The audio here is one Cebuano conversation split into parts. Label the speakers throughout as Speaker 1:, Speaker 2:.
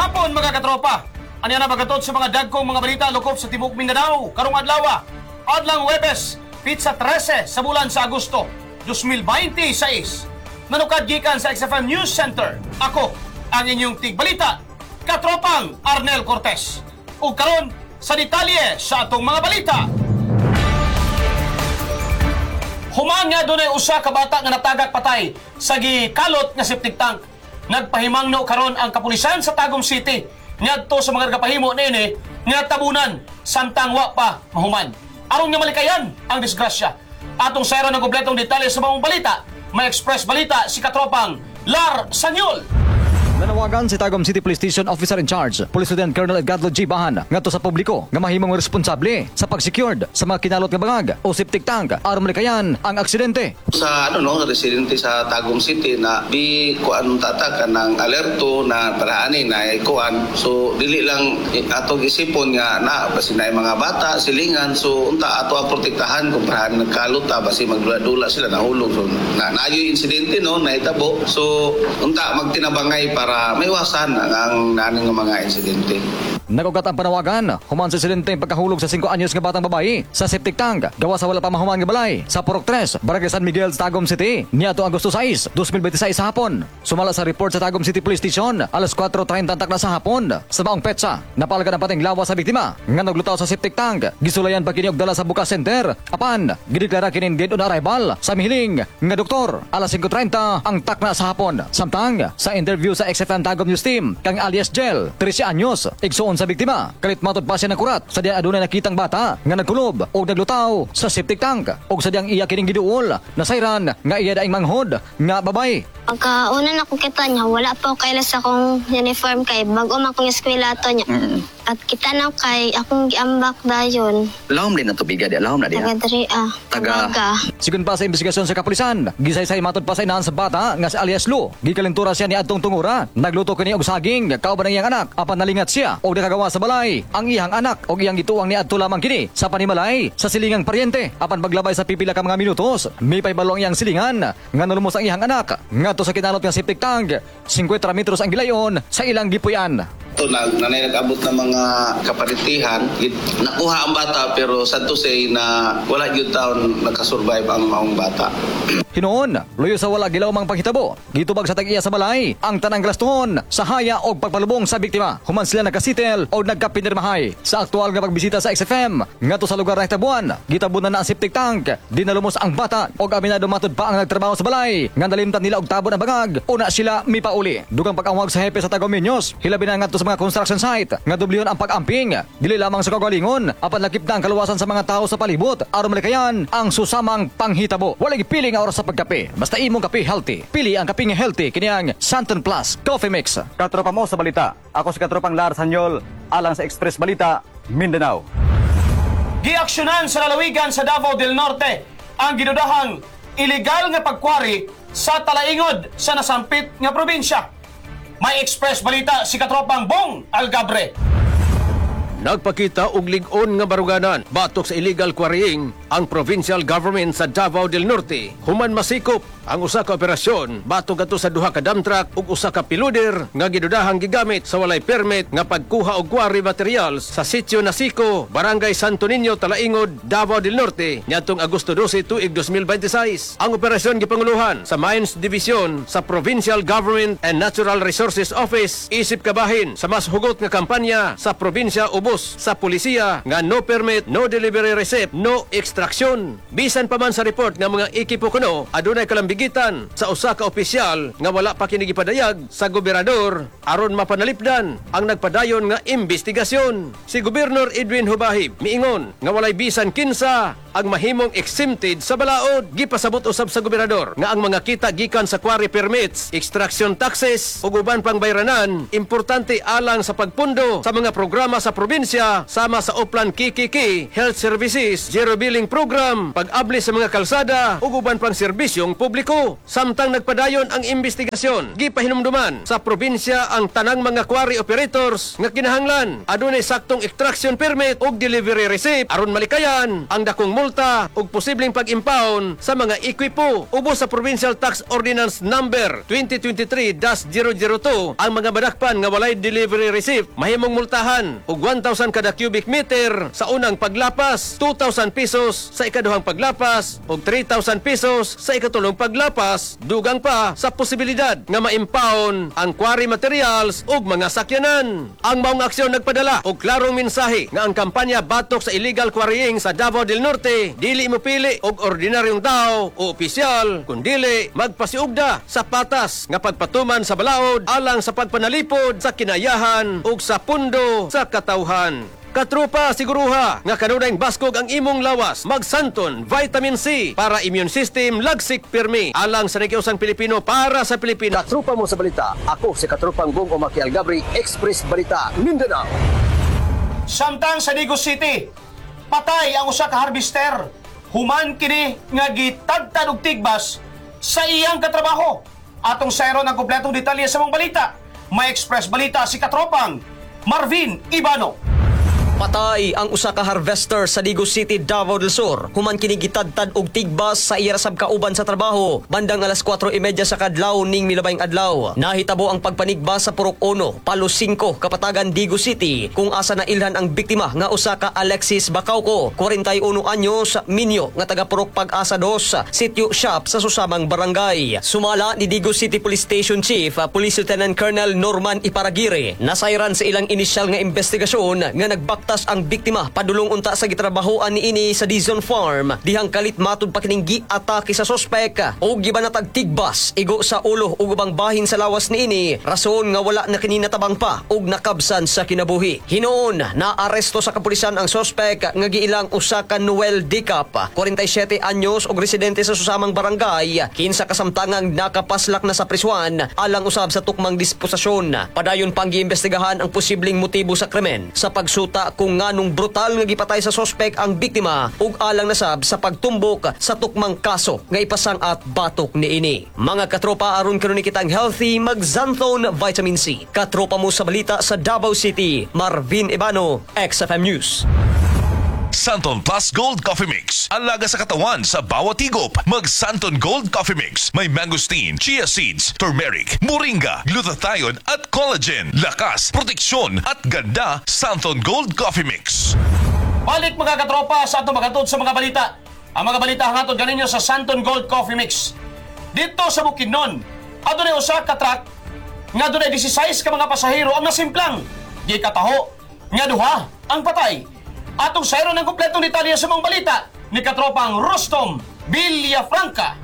Speaker 1: Hapon, mga katropa. Ania na bagatod sa mga dagkong mga balita lukop sa tibuok Mindanao karong adlaw. Adlang Huwebes, petsa 13 sa bulan sa Agosto 2026. Nanukad gikan sa XFM News Center. Ako ang inyong tigbalita, Katropang Arnel Cortez. Ug karon sa detalye sa atong mga balita. Human nga dunay usa ka bata nga natagak patay sa gikalot nga septic tank. Nagpahimangno karon ang kapulisan sa Tagum City ngadto sa mga nagapahimo niini nga tabunan samtang wa pa mahuman, aron nga malikayan ang disgrasya. Atong sayran ang kompletong detalye sa maong balita. May Express Balita si Katropang Lar Sanyol.
Speaker 2: Nanawagan si Tagum City Police Station Officer in Charge, Police Lieutenant Colonel Edgardo G. Bahan, ngadto sa publiko nga mahimong responsable sa pagsecured sa mga kinalot nga bangag o septic tank aron malikayan ang aksidente.
Speaker 3: Sa ano no, residente sa Tagum City na di kuan tata kanang alerto na paraani na kuan, so dili lang atong isipon nga na basi na mga bata silingan. So unta ato ang protektahan kung paraan nagkalot ta, basi magdula-dula sila, nahulog. So na nayoy insidente no nahitabo, so unta magtinabangay para maiwasan ang naning nga mga insidente.
Speaker 2: Nagugat ang panawagan human sa insidente pagkahulog sa 5 anyos nga batang babae sa septic tank gawa sa wala pa mahuman nga balay sa Purok 3, Barangay San Miguel, Tagum City niadto Agosto 6, 2026 sa hapon. Sumala sa report sa Tagum City Police Station, alas 4:30 takna sa hapon sa maong petsa, napalgan ang pateng lawas sa biktima nga naglutaw sa septic tank. Gisulayan pa kini og dala sa Buka Center apan gideklara kining dead on arrival sa mihiling nga doktor alas 5:30 ang takna sa hapon. Samtang sa interview sa XFM Tagum News Team kang alias Gel, 13 anyos, igsuon sa biktima, kalit matod pa siya ng kurat sa diyan adunay nakitang bata nga nagkulob og naglutaw sa septic tank og sa diyang iya kining giduol, nasayran nga iya daing manghod nga babae.
Speaker 4: Pagkauna na akong kita niya, wala pa ako kailas akong uniform kay bago man akong eskwela to niya. At kita na kay akong giambak dayon.
Speaker 5: Lahom din na tubiga di, lahom na diha.
Speaker 4: Taga diri ah.
Speaker 5: Taga-
Speaker 4: Taga.
Speaker 2: Sigun pa sa investigasyon sa kapulisan, gisaysay matod pa sa inahan sa bata nga si alias Lu. Gikalintura siya ni adtong tungura. Nagluto kini og saging kauban ang iyang anak apan nalingat siya og nakagawa sa balay ang iyang anak og iyang gituang ni adto lamang kini sa panimalay sa silingang paryente. Apan paglabay sa pipila ka mga minutos, mipahibalo ang iyang silingan nga nalumos ang iyang anak ngadto sa kinalot nga septic tank. 50 metros ang gilayon sa ilang gipuy-an.
Speaker 3: Ito na nanay nag-abot ng mga kaparitihan, nakuha ang bata, pero sad to say na wala gyud taon nakasurvive ang maong bata.
Speaker 2: Hinuon, luyo sa wala gilawmang panghitabo, gitubag sa tag-iya sa balay ang tanang gastuhon sa haya og pagpalubong sa biktima. Human sila nagkasitel o nagkapinirmahay. Sa aktual nga pagbisita sa XFM ngadto sa lugar nahitabuan, gitabunan na ang septic tank. Di nalumos ang bata og aminado matud pa ang nagtrabaho sa balay nga nalimtan nila og tabon ang bangag una sila mipauli. Dugang pag-angwag sa hepe sa Tagumeños, hilabi na ngadto sa mga construction site nga dublyon ang pag-amping. Dili lamang sa kaugalingon apan lakip na ang kaluwasan sa mga tao sa palibot aron malikayan ang susamang panghitabo. Wala gipiling ang oras sa pagkape. Basta imong kape healthy. Pili ang kape nga healthy, kini ang Santon Plus Coffee Mix. Katropa mo sa balita. Ako si Katropang Lars Hanyol alang sa Express Balita, Mindanao.
Speaker 1: Giaksyonan sa lalawigan sa Davao del Norte ang gidudahang illegal nga pagkwari sa Talaingod sa nasampit nga probinsya. May Express Balita si Katropang Bong Algabre.
Speaker 6: Nagpakita og lig-on nga baruganan batok sa illegal quarrying ang provincial government sa Davao del Norte. Human masikop ang usa ka operasyon batok adto sa duha ka dump truck ug usa ka payloader nga gidudahang gigamit sa walay permit nga pagkuha og quarry materials sa sitio Nasico, Barangay Santo Niño, Talaingod, Davao del Norte niadtong Agosto 12 tuig 2026. Ang operasyon gipanguluhan sa Mines Division sa Provincial Government and Natural Resources Office isip kabahin sa mas hugot nga kampanya sa probinsya ubos sa pulisiya nga no permit, no delivery receipt, no extraction. Bisan pa man sa report nga mga ekipo kuno adunay kalambigitan sa usa ka opisyal nga wala pa kini gipadayag sa gobernador aron mapanalipdan ang nagpadayon nga investigasyon. Si Gobernador Edwin Jubahib miingon nga walay bisan kinsa ang mahimong exempted sa balaod. Gipasabot usab sa gobernador nga ang mga kita gikan sa quarry permits, extraction taxes ug uban pang bayranan importante alang sa pagpundo sa mga programa sa probinsya. probinsya sama sa Oplan KKK, Health Services, Zero Billing Program, pag-abli sa mga kalsada ug uban pang serbisyong publiko. Samtang nagpadayon ang investigasyon, gipahinumduman sa probinsya ang tanang mga quarry operators nga kinahanglan adunay saktong extraction permit ug delivery receipt aron malikayan ang dakong multa ug posibleng pag-impound sa mga ekwipo. Ubos sa Provincial Tax Ordinance Number 2023-002, ang mga madakpan nga walay delivery receipt mahimong multahan og 1,000 kada cubic meter sa unang paglapas, 2,000 pesos sa ikaduhang paglapas ug 3,000 pesos sa ikatulong paglapas, dugang pa sa posibilidad nga ma-impound ang quarry materials ug mga sakyanan. Ang maong aksyon nagpadala og klarong mensahe nga ang kampanya batok sa illegal quarrying sa Davao del Norte dili mopili og ordinaryong tao o opisyal, kundili magpasiugda sa patas nga pagpatuman sa balaod alang sa pagpanalipod sa kinayahan ug sa pundo sa katawhan. Katropa, siguruha nga kanunayng baskog ang imong lawas. Mag-Xanthone Vitamin C para immune system lagsik pirmi. Alang sa nakiusang Pilipino, para sa Pilipino.
Speaker 7: Katropa mo sa balita. Ako si Katropang Bong Omaki Algabri, Express Balita, Mindanao.
Speaker 1: Samtang sa Digos City, patay ang usa ka harvester human kini nga gitadtad og tigbas sa iyang katrabaho. Atong sayron ang kompletong detalye sa mga balita. May Express Balita si Katropang Marvin Ibano.
Speaker 8: Patay ang usa ka harvester sa Digos City, Davao del Sur, human kini gitadtad og tigbas sa iya sab kauban sa trabaho bandang alas 4:30 sa kadlaw ning milabayng adlaw. Nahitabo ang pagpanigbas sa Purok 1, Palo 5, Kapatagan, Digos City, kung asa nailhan ang biktima nga usa ka Alexis Bacauco, 41 anyos, minyo nga taga Purok Pag-asa 2, Sitio Shop sa susamang barangay. Sumala ni Digos City Police Station Chief, Police Lieutenant Colonel Norman Iparagire, nasayran sa ilang inisyal nga investigasyon nga nagbaktas ang biktima padulong unta sa gitrabahoan niini sa Dizon Farm dihang kalit matud pa kining giatake sa sospek og gibanatag tigbas igo sa ulo ug ubang bahin sa lawas niini, rason nga wala na kini natabang pa ug nakabsan sa kinabuhi. Hinuon naaresto sa kapulisan ang sospek nga giilang usa ka Noel Dicap, 47 anyos ug residente sa susamang barangay, kinsa kasamtangang nakapaslak na sa prisuan alang usab sa tukmang disposisyon. Padayon pang giimbestigahan ang posibleng motibo sa krimen sa pagsuta kung nganong brutal nga gipatay sa sospek ang biktima ug alang nasab sa pagtumbok sa tukmang kaso nga ipasang-at batok niini. Mga katropa, aron karon kitang healthy, mag-Xanthone Vitamin C. Katropa mo sa balita sa Davao City, Marvin Ibano, XFM News.
Speaker 9: Santon Plus Gold Coffee Mix. Alaga sa katawan sa bawat higop. Mag Santon Gold Coffee Mix. May mangosteen, chia seeds, turmeric, moringa, glutathione at collagen. Lakas, proteksyon at ganda. Santon Gold Coffee Mix.
Speaker 1: Balik, mga katropa, sa atong magatod sa mga balita. Ang mga balita hangatod ganinyo sa Santon Gold Coffee Mix. Dito sa Bukidnon, adunay usa ka truck nga adunay 16 ka mga pasahero ang nasimplang. Gikataho nga duha ang patay. Atong sayron ang kompletong detalye sa mga balita ni Katropang Rostom Villafranca.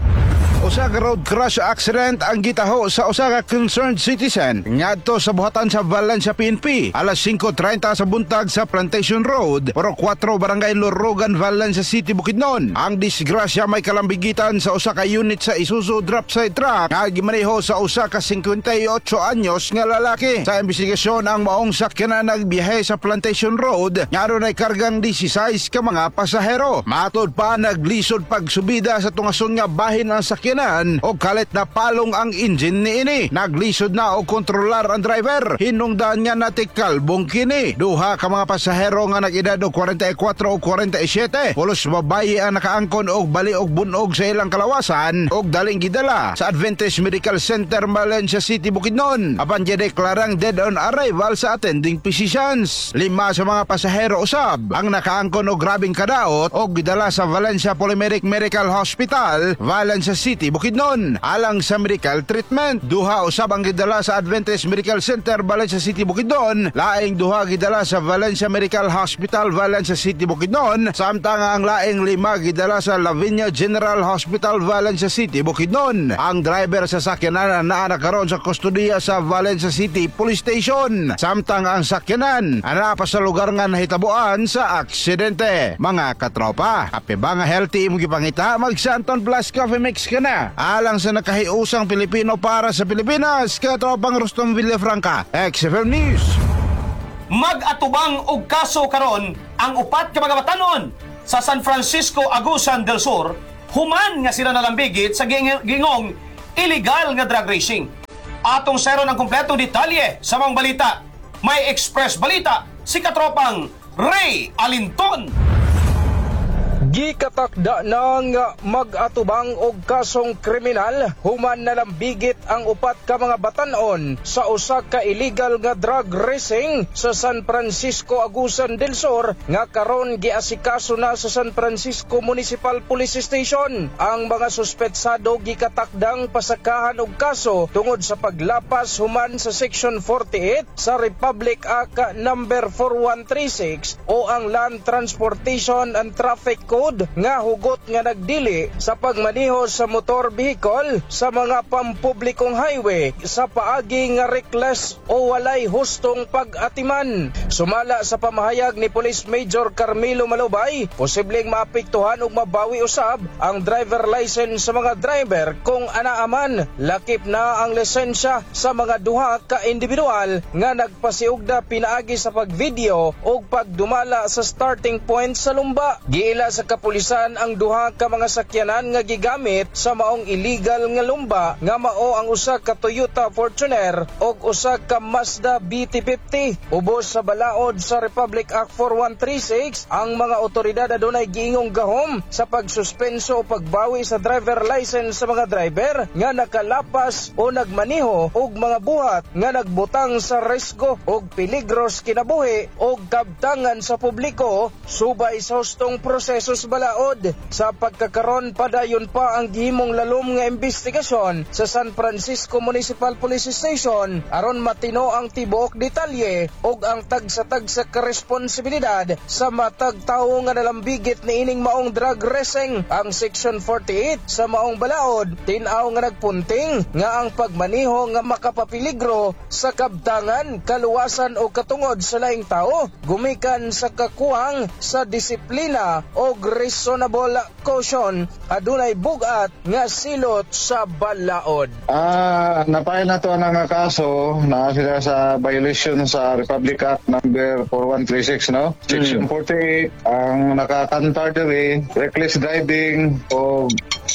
Speaker 10: Usa ka road crash accident ang gitaho sa usa ka concerned citizen ngadto sa buhatan sa Valencia PNP alas 5:30 sa buntag sa Plantation Road, Purok 4, Barangay Lorogan, Valencia City, Bukidnon. Ang disgrasya may kalambigitan sa usa ka unit sa Isuzu drop side truck nga gimaneho sa usa ka 58 anyos nga lalaki. Sa investigasyon, ang maong sakyanan nagbiyahe sa Plantation Road nga adunay kargang 16 ka mga pasahero. Matod pa, naglisod pagsubida sa tungason nga bahin ang sakyanan o kalit na palong ang engine niini. Naglisod na og kontrolar ang driver. Hinungdan nga natikalbong kini. Duha ka mga pasahero nga nag-edad og 44 o 47. Pulos babayi ang nakaangkon og bali og bunog sa ilang kalawasan og daling gidala sa Adventist Medical Center, Valencia City, Bukidnon. Apan gideklarang dead on arrival sa attending physicians. Lima sa mga pasahero usab ang nakaangkon og grabeng kadaot og gidala sa Valencia Polymeric Medical Hospital, Valencia City, Bukidnon alang sa medical treatment. Duha usab ang gidala sa Adventist Medical Center, Valencia City, Bukidnon. Laing duha gidala sa Valencia Medical Hospital, Valencia City, Bukidnon. Samtang ang laing lima gidala sa Lavinia General Hospital, Valencia City, Bukidnon. Ang driver sa sakyanan naa na karon sa kustodiya sa Valencia City Police Station. Samtang ang sakyanan naa pa sa lugar nga nahitabuan sa aksidente. Mga katropa, kape ba nga healthy imong gipangita? Mag Santon Plus Coffee Mix ka na. Alang sa nakahiusang Pilipino, para sa Pilipinas, Katropang Rustom Villafranca, XFM News.
Speaker 1: Mag-atubang og kaso karon ang upat ka mga batanon sa San Francisco, Agusan del Sur, human nga sila nalambigit sa gingong illegal nga drag racing. Atong seron ang kumpletong detalye sa mga balita. May Express Balita si katropang Ray Alinton.
Speaker 11: Gikatakda ng mag-atubang og kasong kriminal human nalambigit ang upat ka mga batanon sa usa ka illegal nga drug racing sa San Francisco, Agusan del Sur nga karon giasikaso na sa San Francisco Municipal Police Station. Ang mga suspetsado gikatakdang pasakahan og kaso tungod sa paglapas human sa Section 48 sa Republic Act Number 4136 o ang Land Transportation and Traffic Code nga hugot nga nagdili sa pagmaneho sa motor vehicle sa mga pampublikong highway sa paagi nga reckless o walay hustong pag-atiman. Sumala sa pamahayag ni Police Major Carmelo Malubay, posibleng maapektuhan ug mabawi usab ang driver license sa mga driver kung anaaman lakip na ang lisensya sa mga duha ka individual nga nagpasiugda pinaagi sa pagvideo ug pagdumala sa starting point sa lumba. Giila sa kapulisan ang duha ka mga sakyanan nga gigamit sa maong illegal nga lumba nga mao ang usa ka Toyota Fortuner ug usa ka Mazda BT50. Ubos sa balaod sa Republic Act 4136, ang mga otoridad adunay giingong gahom sa pagsuspenso o pagbawi sa driver license sa mga driver nga nakalapas o nagmaneho og mga buhat nga nagbutang sa risgo og peligro sa kinabuhi og kabtangan sa publiko subay sa hustong proseso sa balaod. Sa pagkakaron, padayon pa ang gihimong lalom nga investigasyon sa San Francisco Municipal Police Station aron matino ang tibuok detalye ug ang tagsa-tagsa ka responsibilidad sa matag tawo nga nalambigit niining maong drug racing. Ang Section 48 sa maong balaod tin-aw nga nagpunting nga ang pagmaneho nga makapapiligro sa kabtangan, kaluwasan o katungod sa laing tao gumikan sa kakuwang sa disiplina o reasonable caution adunay bugat nga silot sa balaod.
Speaker 12: Napail na to ang nga kaso na sila sa violation sa Republic Act number 4136, no? Section 48 ang nakakantar diri, reckless driving, o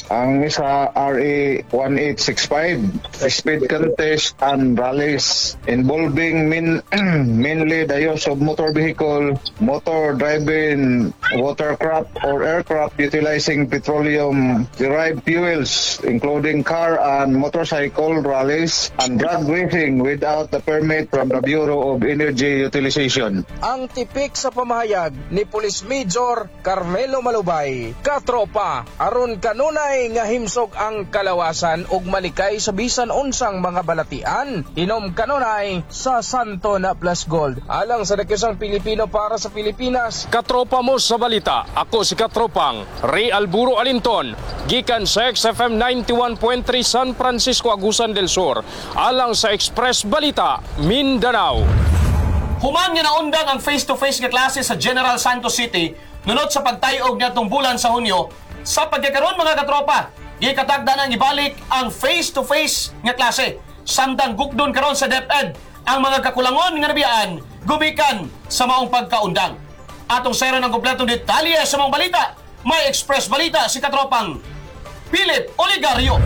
Speaker 12: ang isa RA 1865, speed contest and rallies involving mainly the use of motor vehicle, motor driving, watercraft or aircraft utilizing petroleum derived fuels, including car and motorcycle rallies and drag racing without the permit from the Bureau of Energy Utilization.
Speaker 11: Ang tipik sa pamahayag ni Police Major Carmelo Malubay. Katropa, aron kanunay nga himsog ang kalawasan ug malikay sa bisan unsang mga balatian. Inom kanunay sa Santo na Plus Gold. Alang sa Dakisang Pilipino para sa Pilipinas.
Speaker 13: Katropa mo sa balita. Ako si Katropang Ray Alburo Alinton, gikan sa XFM 91.3 San Francisco, Agusan del Sur. Alang sa Express Balita, Mindanao.
Speaker 1: Human nga naundang ang face-to-face nga klase sa General Santos City nunot sa pagtayog niadtong bulan sa Hunyo, sa pagkakaroon, mga katropa, gikatagda nang ibalik ang face-to-face nga klase. Samtang gukdon karon sa DepEd ang mga kakulangon nga nabiyaan gumikan sa maong pagkaundang. Atong sayran ang kompletong detalye sa mga balita. May Express Balita si katropang Philip Oligario.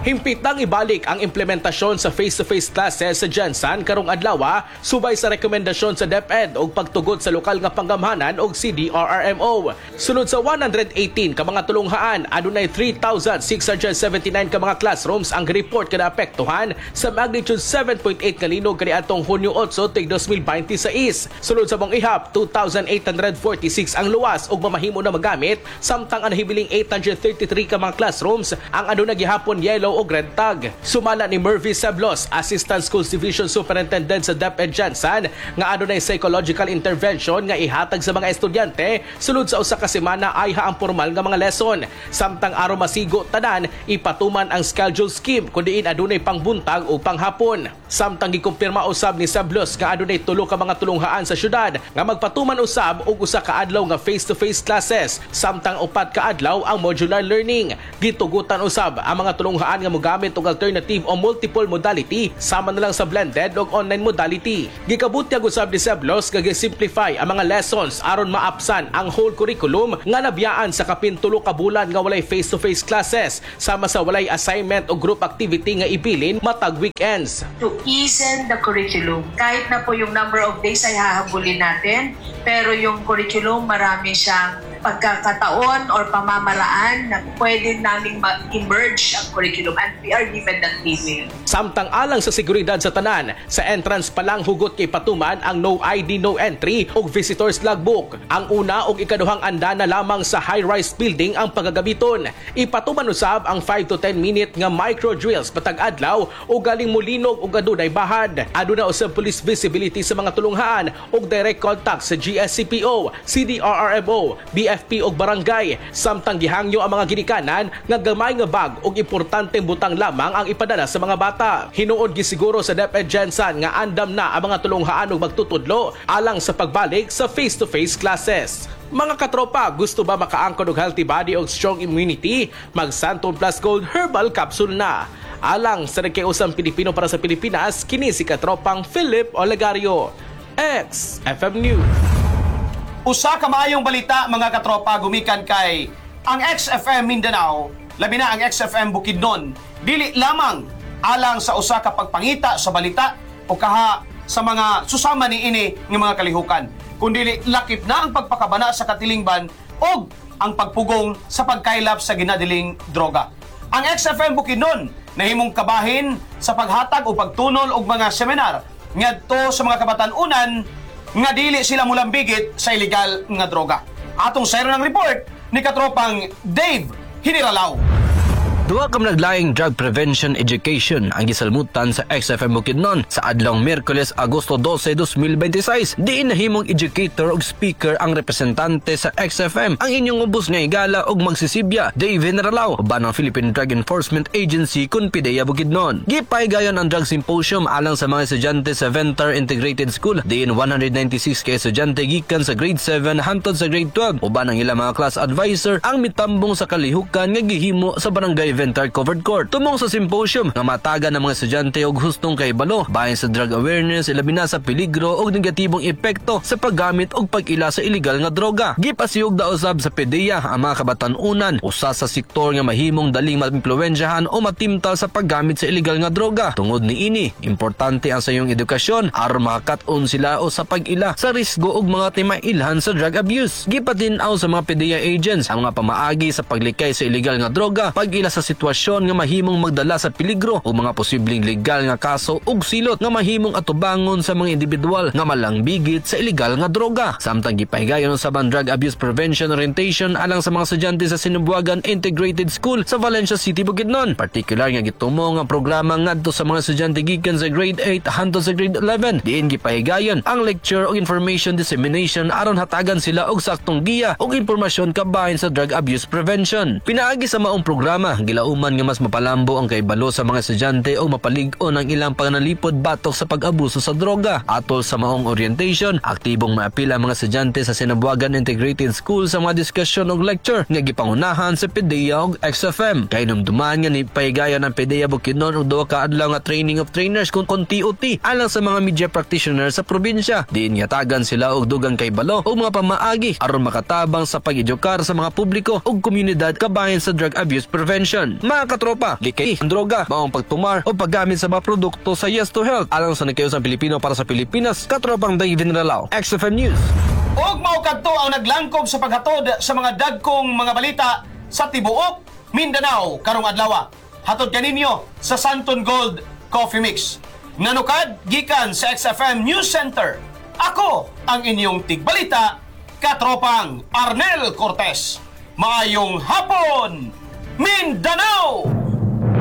Speaker 14: Himpitang ibalik ang implementasyon sa face-to-face classes sa GenSan karong adlaw subay sa rekomendasyon sa DepEd og pagtugot sa lokal nga panggamhanan og CDRRMO. Sulod sa 118 ka mga tulunghaan, adunay 3,679 ka mga classrooms ang report kada apektuhan sa magnitude 7.8 nga linog kaniadtong Hunyo 8 tuig 2026. Sulod sa mong ihap, 2,846 ang luwas ug mamahimo na magamit, samtang ang nahibiling 833 ka mga classrooms ang aduna gihapon yellow o red tag. Sumala ni Mervy Seblos, Assistant Schools Division Superintendent sa DepEd GenSan, nga adunay psychological intervention nga ihatag sa mga estudyante sulod sa usa ka semana ay ang formal nga mga lesson. Samtang aron masigo tanan, ipatuman ang schedule scheme kun diin adunay pangbuntag o panghapon. Samtang gikumpirma usab ni Seblos nga adunay tulo ka mga tulunghaan sa syudad nga magpatuman usab og usa ka adlaw nga face-to-face classes, samtang upat ka adlaw ang modular learning. Gitugutan usab ang mga tulunghaan nga mogamit og alternative o multiple modality sama na lang sa blended og online modality. Gikabutyag usab ni Seblos nga gi-simplify ang mga lessons aron maapsan ang whole curriculum nga nabiyaan sa kapin 3 ka bulan nga walay face-to-face classes sama sa walay assignment o group activity nga ibilin matag weekends.
Speaker 15: To easen the curriculum. Kahit na po yung number of days ay hahabulin natin, pero yung curriculum, marami siyang pagkakataon or pamamaraan na pwede naming ma-emerge ang curriculum, and we are given that leeway.
Speaker 14: Samtang alang sa seguridad sa tanan, sa entrance pa lang hugot kay patuman ang no ID no entry ug visitors logbook. Ang una ug ikaduhang andana lamang sa high-rise building ang pagagamiton. Ipatuman usab ang 5 to 10 minute nga micro drills matag adlaw o galing mulinog ug adunay bahad. Aduna usab police visibility sa mga tulunghaan ug direct contact sa GSCPO, CDRRMO, BFP ug barangay. Samtang gihangyo ang mga ginikanan nga gamay nga bag ug importanteng butang lamang ang ipadala sa mga bata. Hinuod gisiguro sa DepEd GenSan nga andam na ang mga tulunghaan ug magtutudlo alang sa pagbalik sa face-to-face classes. Mga katropa, gusto ba makaangkon og healthy body ug strong immunity? Mag Santon Plus Gold Herbal Capsule na. Alang sa nagkiusang Pilipino para sa Pilipinas, kini si katropang Philip Olegario. XFM News.
Speaker 1: Usa ka maayong balita, mga katropa, gumikan kay ang XFM Mindanao, labi na ang XFM Bukidnon, dili lamang alang sa usa ka pagpangita sa balita o kaha sa mga susama ni ini nga mga kalihukan, kundi lakip na ang pagpakabana sa katilingban og ang pagpugong sa pagkaylap sa ginadiling droga. Ang XFM Bukidnon nahimong kabahin sa paghatag o pagtunol og mga seminar ngadto sa mga kabatan-unan nga dili sila mulambigit sa ilegal nga droga. Atong sayro ng report ni katropang Dave Hiniralaw.
Speaker 16: Duha ka naglaing drug prevention education ang gisalmutan sa XFM Bukidnon sa adlawng Miyerkules, Agosto 12, 2026. Diin nahimong educator ug speaker ang representante sa XFM, ang inyong ubos nga higala ug magsisibya, Dave Generalao, uban ang Philippine Drug Enforcement Agency kun PDEA Bukidnon. Gipahigayon ang drug symposium alang sa mga estudyante sa Ventar Integrated School, diin 196 ka estudyante gikan sa grade 7 hantod sa grade 12 uban ang ilang mga class advisor ang mitambong sa kalihukan nga gihimo sa barangay Ventar Covered Court. Tumong sa symposium nga mataga ng mga estudyante og hustong kahibalo bahin sa drug awareness, ilabi na sa peligro og negatibong epekto sa paggamit og pag-ila sa illegal nga droga. Gipasiyog da usab sa PDEA ang mga kabatan-unan usa sa sektor nga mahimong daling maimpluwensyahan o matimtal sa paggamit sa illegal nga droga. Tungod niini, importante ang sayong edukasyon aron makakat-on sila o sa pag-ila sa risgo og mga timailhan sa drug abuse. Gipatin-aw sa mga PDEA agents ang mga pamaagi sa paglikay sa illegal nga droga, pag-ila sa sitwasyon nga mahimong magdala sa peligro o mga posibleng legal nga kaso ug silot nga mahimong atubangon sa mga individual nga malangbigit sa ilegal nga droga. Samtang gipahigayon sa drug abuse prevention orientation alang sa mga estudyante sa Sinubuagan Integrated School sa Valencia City, Bukidnon. Partikular nga gitumong ang programa ngadto sa mga estudyante gikan sa grade 8 hantod sa grade 11. Diin gipahigayon ang lecture ug information dissemination aron hatagan sila og saktong giya ug impormasyon kabahin sa drug abuse prevention. Pinaagi sa maong programa, gilauman nga mas mapalambo ang kaibalo sa mga estudyante o mapalig-on ang ilang panganalipod batok sa pag-abuso sa droga. Atol sa maong orientation, aktibong maapil ang mga estudyante sa Sinabuagan Integrated School sa mga diskusyon og lecture nga gipangunahan sa PDEA og XFM. Kahinumduman nga ni pahigayon ang PDEA Bukidnon og duha ka adlaw nga training of trainers kung TOT alang sa mga media practitioners sa probinsya. Diin yatagan sila og dugang kaibalo og mga pamaagi aron makatabang sa pag-edukar sa mga publiko ug komunidad kabahin sa drug abuse prevention. Mga katropa, likay ang droga, maong pagtumar o paggamit sa mga produkto sa Yes to Health. Alang sa nagkayosang Pilipino para sa Pilipinas, katropang David Nalao, XFM News.
Speaker 1: Og mao kadto ang naglangkob sa paghatod sa mga dagkong mga balita sa tibuok Mindanao karong adlaw. Hatod kaninyo sa Santon Gold Coffee Mix. Nanukad gikan sa XFM News Center. Ako ang inyong tigbalita, katropang Arnel Cortez. Maayong hapon, Mindanao!